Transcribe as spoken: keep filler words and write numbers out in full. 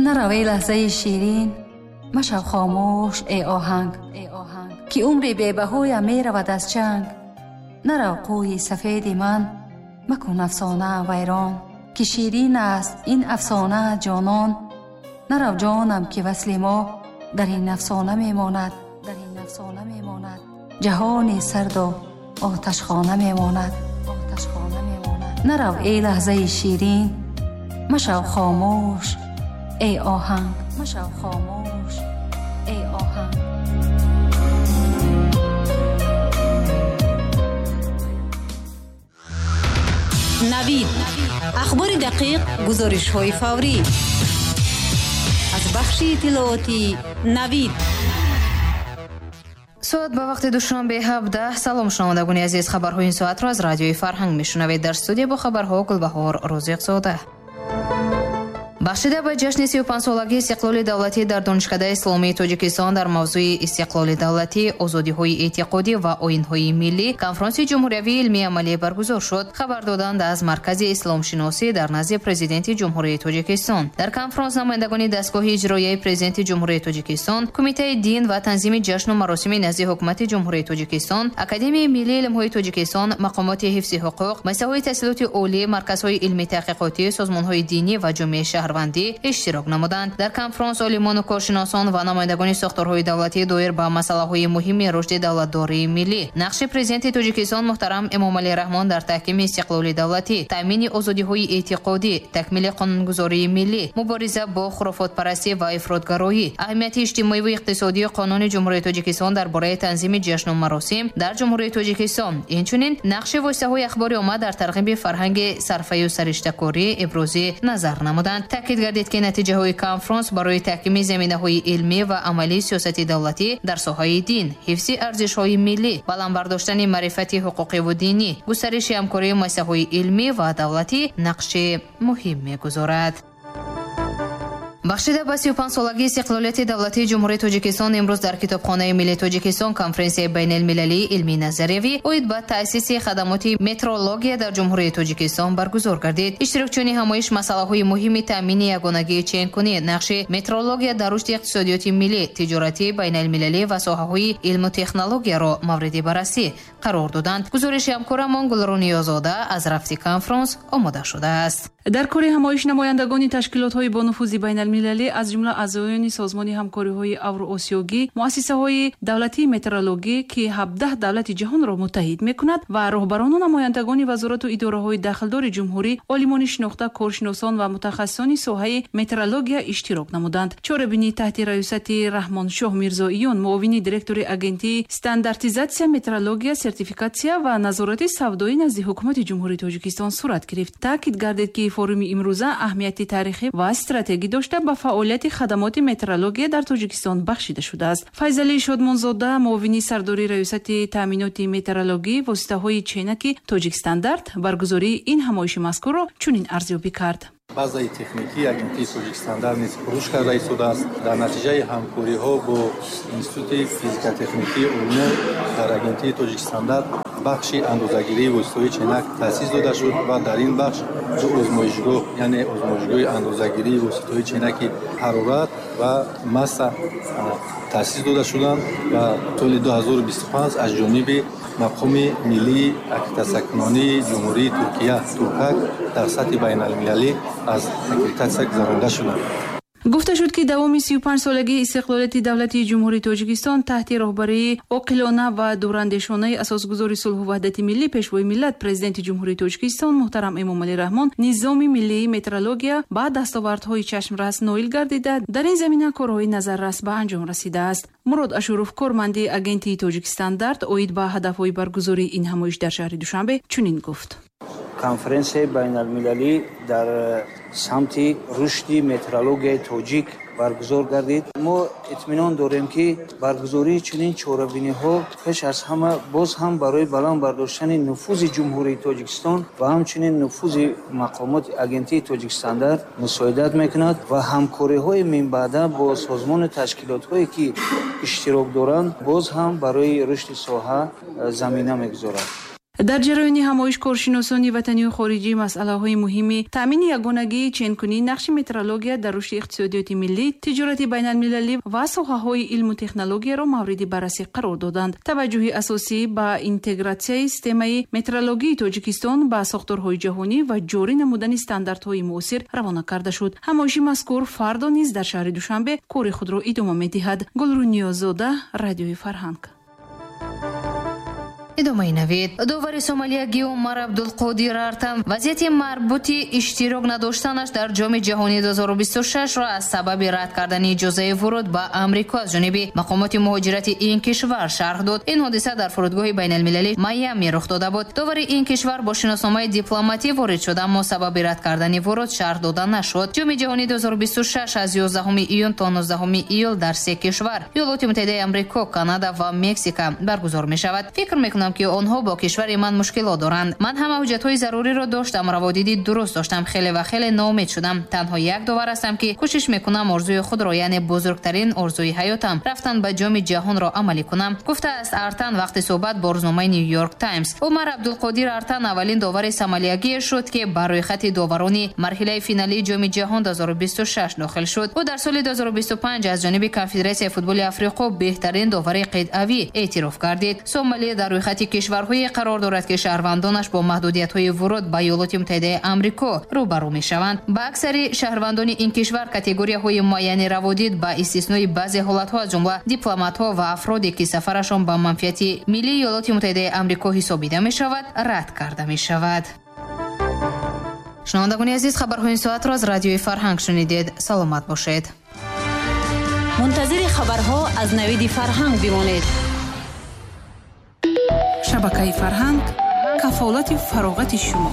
Нарав эй лаҳзаи ширин, машав хомӯш эй оҳанг, ки умри бебаҳоям меравад аз чанг. Нарав қӯи сафеди ман, макун афсонаам вайрон, ки ширин аст ин афсона ҷонон. Нарав ҷонам, ки васли мо дар ин афсона мемонад, дар ин афсона мемонад. Ҷаҳони сарду оташхона мемонад, оташхона мемонад. Нарав эй лаҳзаи ширин, машав хомӯш эй оҳанг, машав хомӯш эй оҳанг. Навид, ахбори дақиқ, гузоришҳои фаврӣ аз бахши иттилоотии Навид. Соат ба вақти Душанбе ҳабдаҳ. Салом, шунавандагони азиз, хабарҳои ин соатро аз радиои Фарҳанг мешунавед. Дар студия бо хабарҳо Гулбаҳор Розиқзода. Бахшида ба ҷашни сию панҷсолагии истиқлоли давлатӣ дар Донишкадаи Исломии Тоҷикистон дар мавзӯи истиқлоли давлатӣ, озодиҳои эътиқодӣ ва оинҳои миллӣ конфронси ҷумҳуриявии илмии амалӣ баргузор шуд. Хабар доданд аз Маркази исломшиносӣ дар назди Президенти Ҷумҳурии Тоҷикистон. Дар конфронс намояндагони дастгоҳи иҷроияи Президенти Ҷумҳурии Тоҷикистон, Кумитаи дин ва танзими ҷашну маросими назди Ҳукумати Ҷумҳурии Тоҷикистон, Академияи миллии илмҳои Тоҷикистон, мақомоти ҳифзи ҳуқуқ, муассисаҳои таҳсилоти олӣ, марказҳои илмии таҳқиқотӣ, созмонҳои динӣ ва ҷомеаи шаҳр иштирок намуданд. Дар конфронс олимону коршиносон ва намояндагони сохторҳои давлатӣ доир ба масъалаҳои муҳими рушди давлатдории миллӣ, нақши Президенти Тоҷикистон муҳтарам Эмомалӣ Раҳмон дар таҳкими истиқлоли давлатӣ, таъмини озодиҳои эътиқодӣ, такмили қонунгузории миллӣ, мубориза бо хурофотпарастӣ ва ифротгароӣ, аҳамияти иҷтимоиву иқтисодии қонуни Ҷумҳурии Тоҷикистон дар бораи танзими ҷашну маросим дар Ҷумҳурии Тоҷикистон, инчунин нақши воситаҳои ахбори омма дар тарғиби фарҳанги сарфаю сариштакорӣ ибрози назар намуданд. Таъкид гардид, ки натиҷаҳои конфронс барои таҳкими заминаҳои илмӣ ва амалии сиёсати давлатӣ дар соҳаи дин, ҳифзи арзишҳои миллӣ, баланд бардоштани маърифати ҳуқуқиву динӣ, густариши ҳамкории муассисаҳои илмӣ ва давлатӣ нақши муҳим мегузорад. Бахшида ба сию панҷсолагии истиқлолияти давлатии Ҷумҳурии Тоҷикистон имрӯз дар Китобхонаи миллии Тоҷикистон конференсияи байналмилалии илмии назариявӣ оид ба таъсиси хадамоти метрология дар Ҷумҳурии Тоҷикистон баргузор гардид. Иштирокчиёни ҳамоиш масъалаҳои муҳими таъмини ягонагии ченкунӣ, нақши метрология дар рушди иқтисодиёти миллӣ, тиҷорати байналмилалӣ ва соҳаҳои илму технологияро мавриди баррасӣ қарор доданд. Гузориши ҳамкорамон Гулру Ниёзода аз рафти конфронс омода шудааст. Дар кори ҳамоиш намояндагони ташкилотҳои бонуфузи байналмилалӣ, аз ҷумла аъзоёни созмони ҳамкориҳои авроосиёгӣ, муассисаҳои давлатии метрологӣ, ки ҳабдаҳ давлати ҷаҳонро муттаҳид мекунад, ва роҳбарону намояндагони вазорату идораҳои дахлдори ҷумҳурӣ, олимони шинохта, коршиносон ва мутахассисони соҳаи метрология иштирок намуданд. Чорабинӣ таҳти раёсати Раҳмоншоҳ Мирзоиён, муовини директори Агентии стандартизатсия, метрология, сертификатсия ва назорати савдоӣ назди Ҳукумати Ҷумҳурии Тоҷикистон сурат гирифт. Таъкид гардид, ки форуми имрӯза аҳамияти таърихӣ ва стратегӣ дошта ба фаъолияти хадамоти метрология дар Тоҷикистон бахшида шудааст. Файзалӣ Шодмонзода, муовини сардори раёсати таъминоти метрологӣ воситаҳои ченаки Тоҷикстандарт, баргузории ин ҳамоиши мазкурро чунин арзёбӣ кард. Базаи техникии Агентии Тоҷикстандарт низ рушд карда истодааст. Дар натиҷаи ҳамкориҳо бо Институти физикотехникии Олмон дар Агентии Тоҷикстандарт бахши андозагирии воситаҳои ченак таъсис дода шуд ва дар ин бахш ду озмоишгоҳ, яъне озмоишгоҳи андозагирии воситаҳои ченаки ҳарорат ва масса таъсис дода шуданд ва соли ду ҳазору бисту панҷ аз ҷониби мақоми миллии аккредитатсиякунонии Ҷумҳурии Туркия Туркак дар сатҳи байналмилалӣ аз аккредитатсия гузаронда шуданд. Гуфта шуд, ки давоми сию панҷсолагии истиқлолияти давлатии Ҷумҳурии Тоҷикистон таҳти роҳбарии оқилона ва дурандешонаи асосгузори сулҳу ваҳдати миллӣ, Пешвои миллат, Президенти Ҷумҳурии Тоҷикистон муҳтарам Эмомалӣ Раҳмон низоми миллии метрология ба дастовардҳои чашмрас ноил гардида, дар ин замина корҳои назаррас ба анҷом расидааст. Мурод Ашуров, корманди Агентии Тоҷикстандарт, оид ба ҳадафҳои баргузории ин ҳамоиш дар шаҳри Душанбе чунин гуфт. Конференсияи байналмилалӣ дар самти рушди метрологияи тоҷик баргузор гардид. Мо итминон дорем, ки баргузории чунин чорабиниҳо пеш аз ҳама боз ҳам барои баланд бардоштани нуфузи Ҷумҳурии Тоҷикистон ва ҳамчунин нуфузи мақомоти Агентии Тоҷикстандарт мусоидат мекунад ва ҳамкориҳои минбаъда бо созмону ташкилотҳое ки иштирок доранд, боз ҳам барои рушди соҳа замина мегузорад. Дар ҷараёни ҳамоиш коршиносони ватанию хориҷӣ масъалаҳои муҳими таъмини ягонагии ченкунии нақши метрология дар рушди иқтисодиёти миллӣ, тиҷорати байналмилалӣ ва соҳаҳои илму технологияро мавриди баррасӣ қарор доданд. Таваҷҷӯҳи асосӣ ба интегратсияи системаи метрологии Тоҷикистон ба сохторҳои ҷаҳонӣ ва ҷорӣ намудани стандартҳои муосир равона карда шуд. Ҳамоиши мазкур фардо низ дар шаҳри Душанбе кори худро идома медиҳад. Гулрӯ Ниёззода, Радиои Фарҳанг. Идомаи навид. Довари сомалиягӣ Умар Абдулқодир Артан вазъияти марбути иштирок надоштанаш дар Ҷоми ҷаҳонии ду ҳазору бисту шашро аз сабаби рад кардани иҷозаи вуруд ба Амрико аз ҷониби мақомоти муҳоҷирати ин кишвар шарҳ дод. Ин ҳодиса дар фурудгоҳи байналмилалии Майами рух дода буд. Довари ин кишвар бо шиносномаи дипломатӣ ворид шуд, аммо сабаби рад кардани вуруд шарҳ дода нашуд. Ҷоми ҷаҳонии ду ҳазору бисту шаш аз ёздаҳуми июн то нуздаҳуми июл дар се кишвар, Иёлоти Муттаҳидаи Амрико, Канада ва Мексика, баргузор мешавад. Фикр мекунам, ки онҳо бо кишвари ман мушкилот доранд. Ман ҳама ҳуҷҷатҳои заруриро доштам, раводиди дуруст доштам. Хеле ва хеле ноумед шудам. Танҳо як довар ҳастам, ки кӯшиш мекунам орзуи худро, яъне бузургтарин орзуи ҳаётам, рафтан ба Ҷоми ҷаҳонро амалӣ кунам, гуфтааст Артан вақти суҳбат бо рӯзномаи Нью Йорк Таймс. Умар Абдулқодир Артан аввалин довари сомалиягие шуд, ки ба рӯйхати доварони марҳилаи финалии Ҷоми ҷаҳон ду ҳазору бисту шаш дохил шуд. Ӯ дар соли ду ҳазору бисту панҷ аз ҷониби Конфедератсияи футболи Африқо беҳтарин довари қитъавӣ эътироф гардид. Сомалия дар рӯйхати кишварҳое қарор дорад, ки шаҳрвандонаш бо маҳдудиятҳои вуруд ба Иёлоти Муттаҳидаи Амрико рӯбарӯ мешаванд. Ба аксари шаҳрвандони ин кишвар категорияҳои муайяни раводид, ба истиснои баъзе ҳолатҳо, аз ҷумла дипломатҳо ва афроде, ки сафарашон ба манфиати миллии Иёлоти Муттаҳидаи Амрико ҳисобида мешавад, рад карда мешавад. Шунавандагони азиз, хабарҳои ин соатро аз Радиои Фарҳанг шунидед. Саломат бошед. Мунтазири хабарҳо аз Навиди Фарҳанг бимонед. Шабакаи Фарҳанг, кафолати фароғати шумо.